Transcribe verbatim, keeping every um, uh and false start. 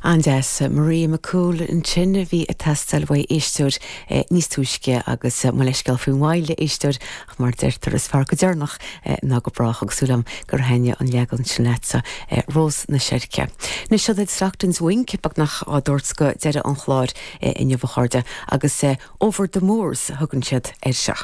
An-deas Maria McCool ansin a bhí ag teastáil uaidh éisteoir níos túisce agus mo leithscéal faoin mhoill éisteoir ach mar deirtear is fearr go deireanach ná go brách agus súil agam gur thaitin an leagan sin leatsa Rós na Seirce. Anois seo Stockton's Wink beagnach á dtabhairt go deireadh an chláir inniu a chairde agus Over the Moors thugann siad air seo.